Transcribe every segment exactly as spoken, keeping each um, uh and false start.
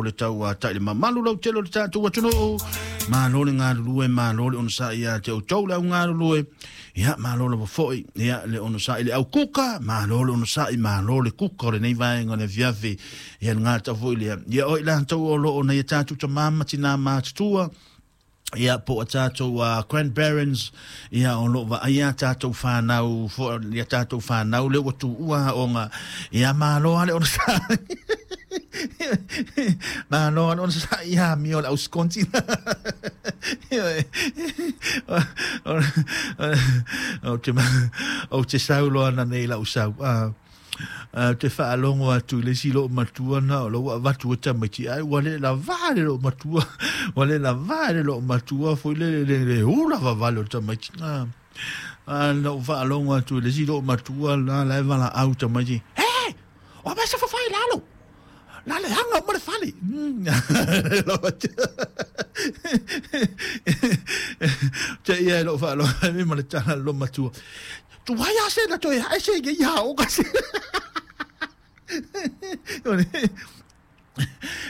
le tauata'i le mamalu lautele o le tatou atunuu. Malo le galulue, malo le onosa'i ia te outou le augalulue. Ia malo lava fo'i ia le onosa'i le aukuka, malo le onosa'i, malo le kuka o lenei vaega o le afiafi. Ia le gata fo'i lea ia o i latou o loo nai a tatou tamā ma tinā matutua, ia po o tatou uh, grandparents, ia o loo vaaia tatou fanau fo ia tatou fanau le ua tuua aoga. Ia malo a le onosa'i, malo a le onosa'i ia amio le auskonti. O te o te saulo ana nei lau sau a te faalogo atu i le isi loo matua na o lou avatu e tamaiti ai ua le lavā le loo matua, ua le lavā le loo matua foi le le le ula vavale o tamaiti a a lou faalogo atu i le isi loo matua la la e valaau tamaiti e o mai sa fafai lalo la le anga o ma le fale. Te ia lou faalogo ai ma le tala lo matua tu vai a se na toe ai se ia o ka se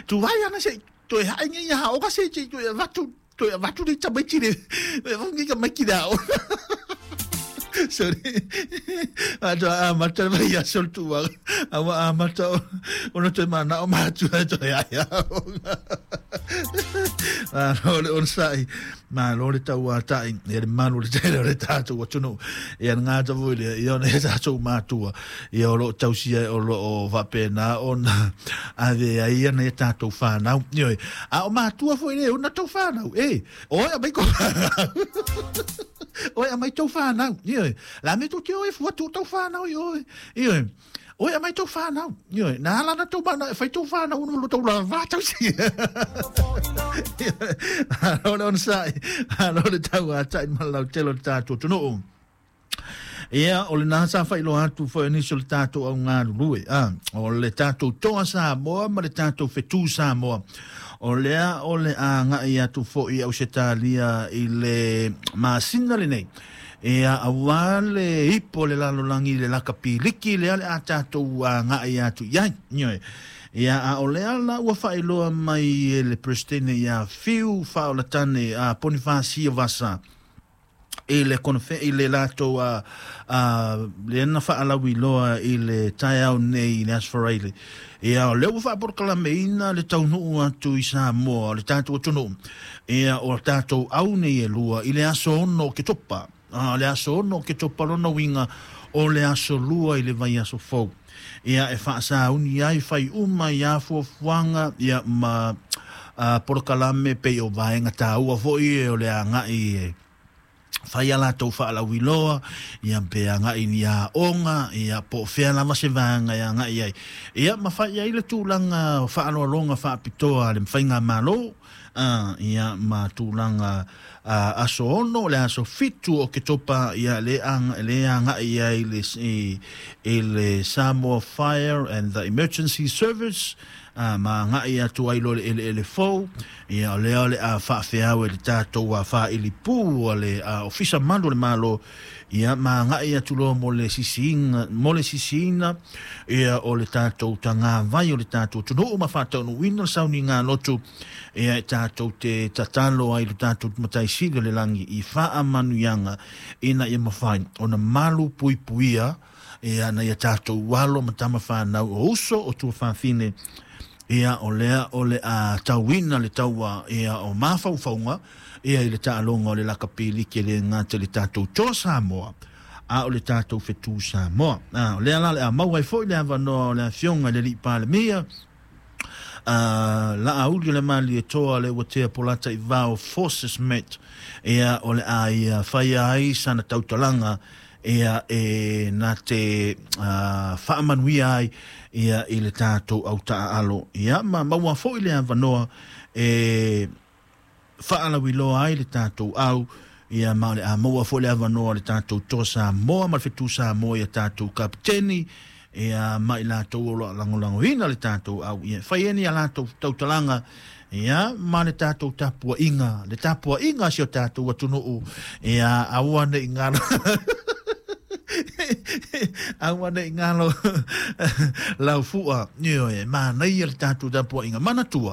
tu vai ana se toe ai nge ia o ka se toe vatu toe vatu le tamaiti le ngi ka maiki da o. Sorry. Ato a mata vai a sol tu a a mata o no te mana o matua toe ai a. Malo le onosai, malo le tauata'i ia le malu le tele o le tatou atunuu. Ia le gata foi lea ia ona e tatou matua ia o loo tausia o loo faapena ona ave ai ana ia tatou fanau. Ioe, a o matua foi le ona tou fanau e oe aumai ko oe aumai tou fanau. Ioe, la me tou te oe fua tuu tau fanau i oe. Ioe, oe aumai tou fanau. Ioe, na ala na tou mana e fai tou fanau ona lo tou lavā tausi. Malo le onosai, malo le tauata'i ma le lautele o le tatou atunuu. Ia o lena sa faailoa atu foi nisi o le tatou augalulue a o le tatou Toa Samoa ma le tatou Fetu Samoa. O lea o le aga'i atu fo'i Ausetalia i le masina lenei. Ia auā le ipo le lalolagi le lakapiliki lea le a tatou aga'i atu i ai. Ioe, ia a o lea la ua faailoa mai e le Peresetene ia Fiu Faaolatane a Ponifasia Vasa i le konofe i le latou a a le na faalauiloa i le taeao nei i le Aso Faraile. Ia o lea ua faapolokalameina le taunuu atu i Samoa o le tatou atunuu. Ia o tatou au nei e lua i le aso ono o Ketopa. A le aso ono o Ketopa lona uiga o le aso lua i le vaiaso fou. Ia e faasauni ai fai uma ia fuafuaga ia ma a, polokalame pei o vaega tāua fo'i e o le aga'i e fai a latou faalauiloa ia pe aga'i ni aoga ia po o fea lava se vaega e aga'i ai. Ia ma fai ai le tulaga faaloaloga faapitoa le faigamalo a ia ma tulaga a aso ono le aso fitu o Ketopa ia le aga le aga'i ai le i, i le Samoa Fire and the Emergency Service a ma aga'i atu ai lo le eleele fou. Ia o lea o le a faafeau e le tatou a faailipū o le a ofisa malu o le malo. Ia ma aga'i atu loa mo le sisiina mo le sisiina ia o le tatou tagavai o le tatou atunuu ma faataunuuina le sauniga lotu. Ia e tatou te tatalo ai le tatou mataisili o le lagi i faamanuiaga ina ia mafai ona malu puipuia ia na ia tatou alo ma tama fanau o uso o tuafafine. Ia o lea o le a tauina le taua ia o mafaufauga ia i le taaloga o le lakapiliki le gata le tatou Toa Samoa a o le tatou Fetu Samoa. A o lea la le a maua ai foi le avanoa o le afioga i le alii Palemia a la auli o le Malietoa le ua tea polata i vao Forces Met. Ia o le a ia faia ai sana tautalaga ia e na te uh, faamanuia ai ia i le tatou autaaalo. Ia ma maua foi le avanoa e faalauiloa ai le tatou au. Ia ma o le a maua foi le avanoa le tatou Toa Samoa ma le Fetu Samoa ia tatou kapiteni ia ma i latou o loo lagolagoina le tatou au. Ia fai ai ni a latou tautalaga ia ma le tatou tapua'iga le tapua'iga a si o tatou atunuu. Ia aua ne'i galo aua ne'i galo laufu'a. Ioe, manaia le tatou tapua'iga manatua.